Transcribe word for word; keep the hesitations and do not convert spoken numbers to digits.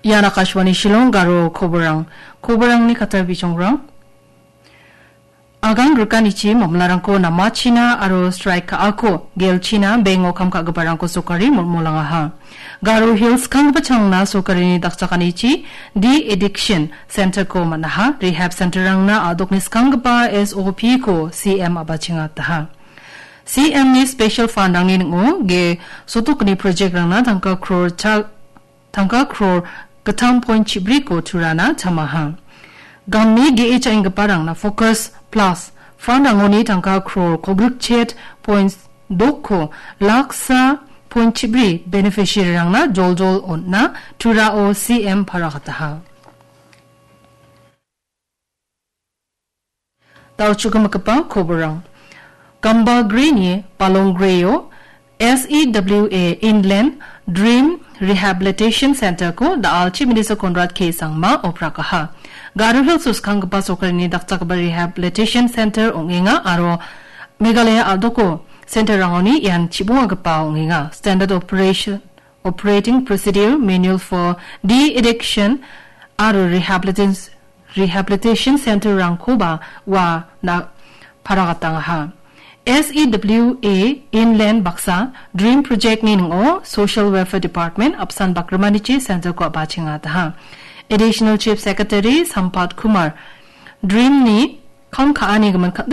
Ian Akashvani Shillong Garo koborang. Koborangni katta bijongrang. Agang rikanichi mamlarangko namachina aro straik ka·ako gelchina bengo kam ka·giparangko sokari molmolangaha. Garo Hills kanggipa changna sokarini dakchakanichi de-addiction center-ko man·aha. Rehab center-rangna a·dokni skanggipa S O P-ko C M a·bachengataha. C M-ni special fund-rangni ning·o ge sotokni project-rangna tangka crore cha-, tangka crore gittam point chibriko turana chamaha. Gamni ge·e cha·enggiparangna Focus Plus fund-rangoni tangka crore kogrikchet point dokko laksa point chibri beneficiary-rangna joljol on·na turao C M paragataha. Dal·chugipa koborang. Gambagrini Palongreo S E W A Inland Dream Rehabilitation Center-ko da·al Chief Minister Conrad K Sangma oprakaha. Garo Hills-o skanggipa sorkarini dakchakgipa rehabilitation center ong·enga aro Meghalaya a·doko center-rangoni ian chibongagipa ong·enga. Standard Operation Operating Procedure Manual for De-Addiction aro Rehabilitation, Rehabilitation Center-rangkoba ua na paragatangaha. S E W A Inland baksa Dream Project-ni ning·o Social Welfare Department apsan bakrimanichi center-ko a·bachengataha. Additional Chief Secretary Sampat Kumar Dream-ni kam ka·ani gimin ka-,